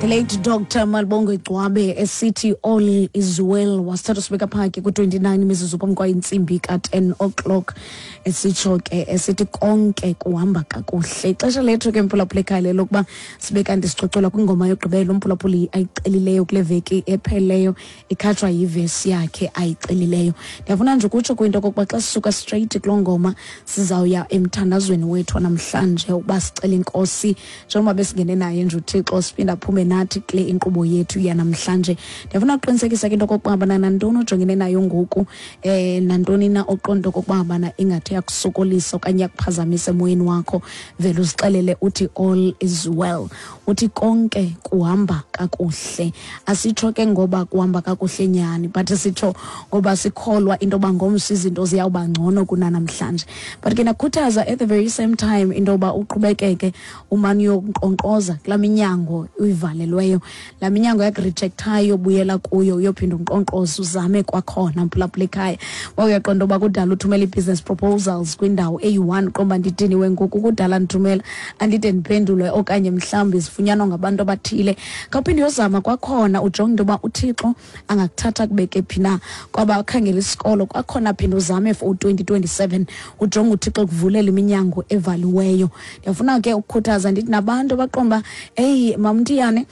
The late Dr. Malibongwe Gcwabe esithi "All is well" wasithatha sibeka phaki ku-29 imizuzu phambi kwayintsimbi ka-10 o'clock, esitsho ke esithi konke kuhamba kakuhle. Ixesha lethu ke, mphulaphula ekhaya, lelokuba sibe kanti sicocola kwingoma yokugqibela umphulaphuli ayicelileyo kule veki ephelileyo, ikhatshwa yivesi yakhe ayicelileyo. Ndiyafuna nje ukutsho kwinto okokuba xa sisuka straight kuloo ngoma, sizawuya emthandazweni wethu namhlanje ukuba sicele inkosi, njengoba besingene naye nje uThixo, siphinde aphume nathi kule inkqubo yethu yanamhlanje. Ndiyafuna ukuqinisekisa ke into okokuba bana nantoni ojongene nayo ngoku, nantoni na oqonda okokuba bana ingathi yakusokolisa okanye yakuphazamisa emoyeni wakho, vele uzixelele uthi "All is well", uthi konke kuhamba kakuhle. Asitsho ke ngoba kuhamba kakuhle nyhani, but sitsho ngoba sikholwa into yoba ngomso izinto ziyawuba ngcono kunanamhlanje. But ke ndakhuthaza at the very same time into yoba uqhubekeke umane uyonkqonkqoza kulaa minyango uyivalelweyo, laa minyango yakurejectayo. Buyela kuyo, uyophinda unkqonkqoze, uzame kwakhona, mphulaphula ekhaya. Uba uyaqonda uba kudala uthumela ii-business proposals kwindawo eyi-one, qomba ndidiniwe ngoku, kudala ndithumela andide ndiphendulwe, okanye mhlawumbi zifunyanwa ngabantu abathile, khawuphinde uyozama kwakhona, ujonge into yoba uThixo angakuthatha kubeke phi na. Kwaba khangela isikolo kwakhona, phinde uzame for u-2027, ujonge uThixo kuvulela iminyango evaliweyo. Ndiyafuna ke ukukhuthaza ndithi nabantu abaqonda uba, "Eyi, mamntiyane,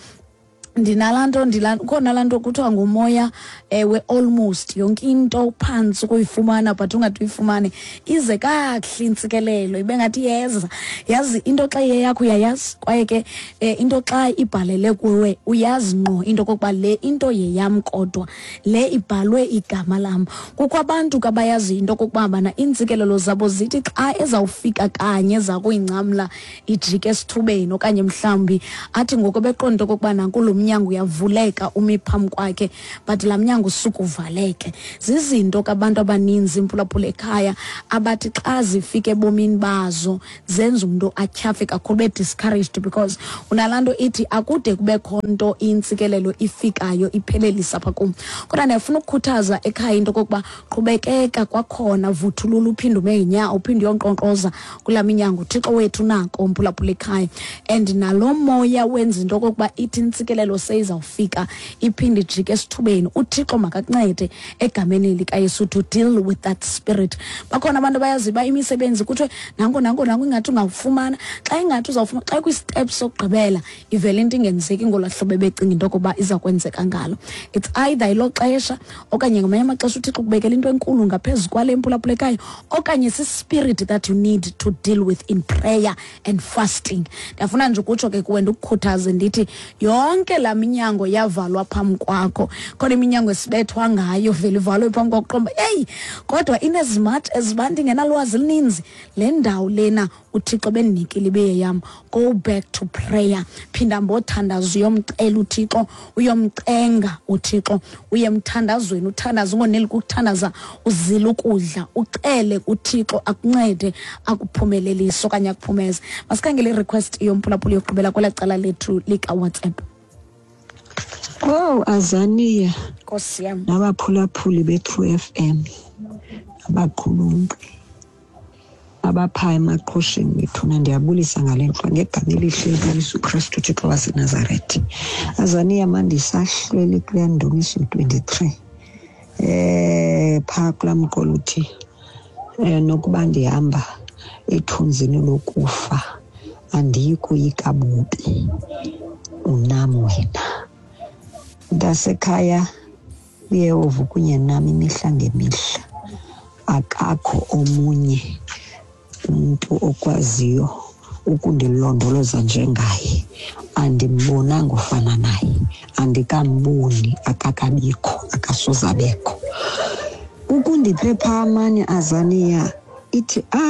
ndinalaa nto, ukhona laa nto kuthiwa ngumoya we-almost yonke into phantsi ukuyifumana, but ungade uyifumane ize kakuhle intsikelelo, ibe ngathi iyeza." Yazi into xa iyeyakho uyayazi, kwaye ke into xa ibhalele kuwe uyazi ngqo into okokuba le into yeyam, kodwa le ibhalwe igama lam. Kukho abantu ke abayaziyo into okokuba bana iintsikelelo zabo zithi xa ezawufika kanye zakuyingcamla ijike esithubeni, okanye mhlawumbi athi ngoku beqonda okokuba nanku lo mnyango uyavuleka umi phambi kwakhe, but laa mnyango usuke uvaleke. Zizinto ke abantu abaninzi, mphulaphula ekhaya, abathi xa zifika ebomini bazo zenza umntu atyhafe kakhulu, be-discouraged, because unalaa nto ithi akude kubekho nto intsikelelo ifikayo iphelelisa apha kum. Kodwa ndiyafuna ukukhuthaza ekhaya into okokuba qhubekeka kwakhona, vuthulula, uphinde ume ngenyawo, uphinde uyonkqonkqoza kulaa minyango. UThixo wethu nako, mphulaphula ekhaya, and nalo moya wenza into okokuba ithi intsikelelo seyizawufika iphinde ijike esithubeni, uThixo makakuncede egameni likaYesu to deal with that spirit. Bakhona abantu abayaziyo uba imisebenzi kuthiwe nanko, nanko, nanko, ingathi ungawufumana, xa ingathi uzawufumana, xa kwi-step sokugqibela ivele into ingenzeki ngolaa hlobo ebecinga into yokuba iza kwenzeka ngalo. It's either ilo xesha, okanye ngamanye amaxesha uThixo kubekela into enkulu ngaphezu kwale, mphulaphulekayo, okanye si-spirit that you need to deal with in prayer and fasting. Ndiyafuna nje ukutsho ke kuwe, ndikukhuthaze ndithi yonke laa minyango yavalwa phambi kwakho, khona iminyango esibethwa ngayo, vele ivalwe phambi kwakho, qomba eyi, kodwa in as much as uba ndingenalwazi elininzi, le ndawo lena uThixo bendinikile ibe yam. Go back to prayer, phinda mbothandaza, uyomcela uThixo, uyomcenga uThixo, uye emthandazweni, uthandaza ungoneli kukuthandaza, uzile ukudla, ucele uThixo akuncede, akuphumelelise okanye akuphumeze. Masikhangele i-request yomphulaphula yokugqibela kwelaa cala lethu likaWhatsApp. Oh, Azania. Nkosi yam. Nabaphulaphuli be-True FM, abaqhulunqi abaphaa emaqhosheni bethuna, ndiyabulisa ngale ntlwa ngegama elihle likaYesu Kristu, uThixo waseNazaretha. Azania, mandisahlwele kulaa Ndumiso 23, phaa kulaa mqolo uthi, "Nokuba ndihamba ethunzini lokufa, andiyi koyika bubi, unam wena." Mntasekhaya, uYehova kunye nam imihla ngemihla. Akakho omunye umntu okwaziyo ukundilondoloza njengaye. Andimbonanga ofana naye, andikamboni, akakabikho, akasoze abekho. Ukundiphepha amanye, Azania, ithi